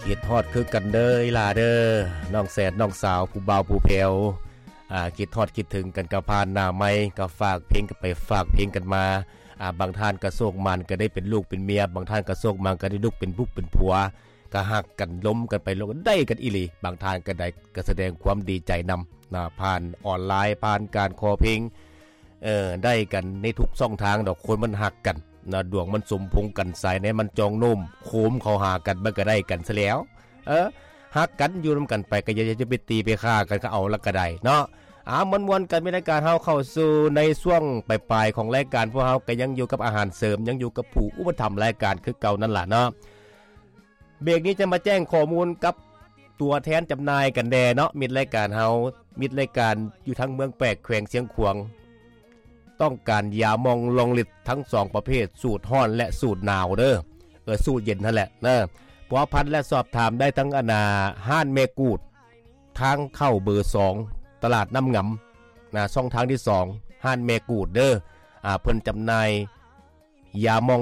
ຄິດຮອດຄືກັນເດີອີ່ຫຼ້າເດີ ນ້ອງແສດນ້ອງສາວ ຜູ້ບ່າວຜູ້ແພ້ວ ອ່າ ຄິດຮອດຄິດເຖິງກັນ ກໍຜ່ານໜ້າໄມ ກໍຝາກເພງກັນໄປ ຝາກເພງກັນມາ. ອ່າ ບາງທ່ານກໍໂຊກໝານ ກໍໄດ້ເປັນລູກເປັນເມຍ, ບາງທ່ານກໍໂຊກໝານ ກໍໄດ້ລູກເປັນບຸກເປັນຜົວ, ກໍຮັກກັນ ລົມກັນໄປ ລົມກັນ ໄດ້ກັນອີ່ຫຼີ. ບາງທ່ານກໍໄດ້ ກໍສະແດງຄວາມດີໃຈນຳນະ ຜ່ານອອນລາຍ ຜ່ານການຂໍເພງ. ເອີ ໄດ້ກັນໃນທຸກຊ່ອງທາງດອກ ຄົນມັນຮັກກັນນະ ດວງມັນສົມພົງກັນ ສາຍໃນມັນຈອງໂນ້ມໂຄມເຂົ້າຫາກັນ ມັນກໍໄດ້ກັນຊະແລ້ວ. ເອີ ຮັກກັນຢູ່ນຳກັນໄປ ກໍຢ່າ ຢ່າໄປຕີໄປຂ້າກັນ ກໍເອົາລະກໍໄດ້ເນາະ. ເອົາ ມ່ວນໆກັນ ມີລາຍການເຮົາເຂົ້າສູ່ໃນຊ່ວງປາຍໆຂອງລາຍການ ພວກເຮົາກໍຍັງຢູ່ກັບອາຫານເສີມ ຍັງຢູ່ກັບຜູ້ອຸປະຖຳລາຍການຄືເກົ່ານັ້ນລະເນາະ. ເບຣກນີ້ຈະມາແຈ້ງຂໍ້ມູນກັບຕົວແທນຈຳໜ່າຍກັນແດ່ເນາະ ມິດລາຍການເຮົາ ມິດລາຍການຢູ່ທາງເມືອງແປກ ແຂວງຊຽງຂວາງ ຕ້ອງການຢາໝອງລອງລິດທັງສອງປະເພດ ສູດຮ້ອນ ແລະ ສູດໜາວເດີ ເອີ ສູດເຢັນຫັ້ນແຫຼະເນາະ. ພົວພັນ ແລະ ສອບຖາມໄດ້ທາງ ອັນນ່າ ຮ້ານແມ່ກູດ ທາງເຂົ້າເບີສອງ ຕະຫຼາດນ້ຳງຳນະ ຊ່ອງທາງທີສອງ ຮ້ານແມ່ກູດເດີ. ອ່າ ເພິ່ນຈຳໜ່າຍຢາໝອງ